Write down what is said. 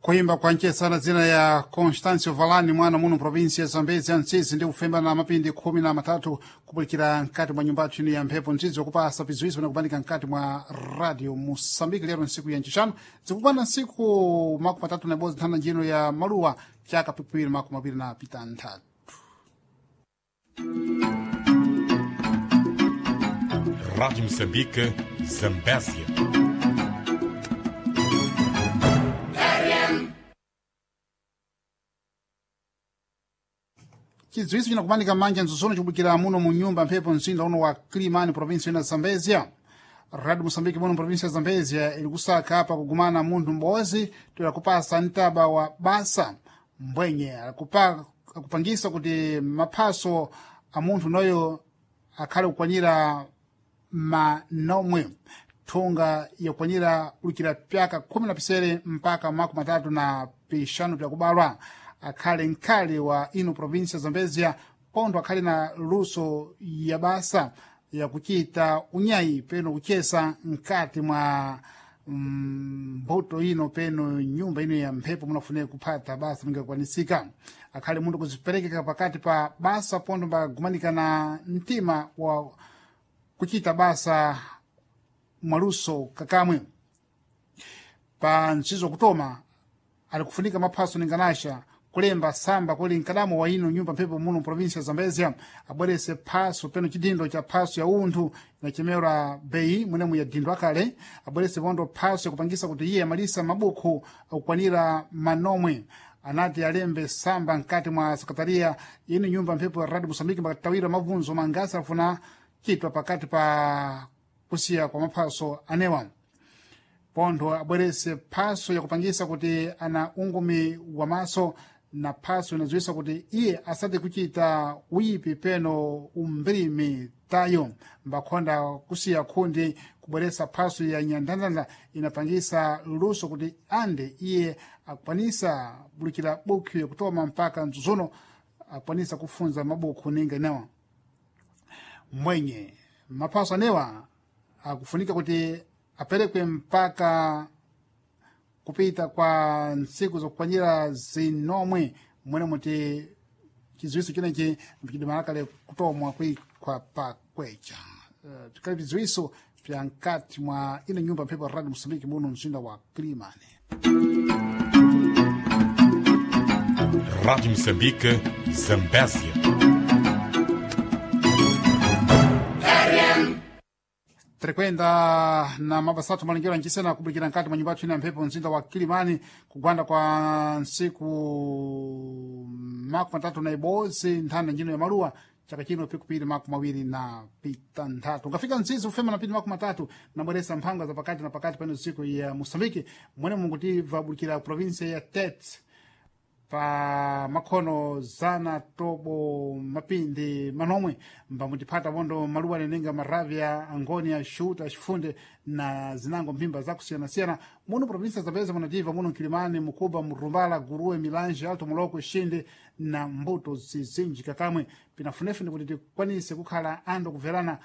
Kuimba kwa nchesana zina ya Constancio Valani mwana muno provinsi ya Zambezi antsizi ndi kufemba na mapindi 13 kupulikira mkati mwa nyumba yathu ino ya mphepo ntsizi wakupasa piziwizo na kubanika mkati mwa radio Mosambiki lero nsiku ya ncixanu zikupanda nsiku 31 nthanda njino ya maluwa chaka pikwiri 26. Rádio Moçambique, Zambésia. Chidziwitso chinakumanika manja mzuzuno chikubukira muno mu nyumba mphepo mzinda uno wa Kilimani provinsi ina Zambezia. Radio Mosambiki muno provinsi ya Zambezia ili kusaka apa kugumana munthu m'bodzi toera kupasa mtaba wa basa mbwenye akupangisa kuti maphaso a munthu noyo akhale kukwanira manomwe thunga yakukwanira ulukira pyaka 17 mpaka 35 pyakubalwa akhale mkhale wa ino provinsi ya Zambezia pontho akhale na luso ya basa yakuchita unyayi peno kuchesa mkati mwa mbuto ino peno nyumba ino ya mphepo munafunika kuphata basa mingakwanisika akhale munthu kuziperekeka pakati pa basa pontho mbagumanika na mtima wa kuchita basa mwaluso kakamwe. Pa ntchizo kutoma alikufunika maphaso ninganasha kulemba samba kuli mkadamo wa ino nyumba mphepo muno provinsi ya Zambezia abwerese phaso peno chidindo cha phaso ya unthu inachemera bei mwenemu ya dindo akale abwerese pondo phaso yakupangisa kuti iye amalisa mabukhu akukwanira manomwe anati alembe samba mkati mwa sekretariya ino nyumba mphepo ya Radio Mosambiki mbakatawira mabvunzo mangasi afuna chitwa pakati pa kusiya kwa maphaso anewa. Pontho abwerese phaso yakupangisa kuti ana ungumi wa maso na phaso inadziwisa kuti iye asati kuchita uyipi peno umbrimi tayo mbakhonda kusiya khundi kubweresa phaso ya nyandandanda inapangisa luso kuti ande iye akwanisa bulukira bukhu yakutoma mpaka mzuzuno akwanisa kufunza mabukhu ninga inewa mwenye maphaso anewa akufunika kuti aperekwe mpaka kupita kwa ntsiku zokukwanira zinomwe mwene muti chidziwitso chinechi mchidimalakale kutomwa kuikwa pakwecha. Pikali vidziwitso vya mkati mwa ino nyumba mphepo ya Radio Mosambiki muno mzinda wa Kilimani. Rádio Moçambique, Zambésia. Tirikwenda na mabasatu malingiro ancisena kubulikira nkati mwa nyumba yathu ino ya mphepo mzinda wa Kilimani kugwanda kwa ntsiku 31 nthanda njino ya maluwa chaka chino pikupiri 26. Ukafika mzizi ufema na pindi 30 nabweresa mphanga za pakati na pakati pano siku ya Mosambiki mwene mungutiva bulikira provinsia ya Tete pa makhono zana tobo mapindi manomwe mbamutiphata pondo maluwa nenenga maravya angonia shuta chifunde na zinango mphimba zakusiyanasiyana muno provinsia Zambezi munativa muno Mkilimani Mukuba Murumbala Guruwe Milanje Alto Moloko Shinde na mbuto zizinji kakamwe pinafunefune kuti tikwanise kukhala andu kuverana.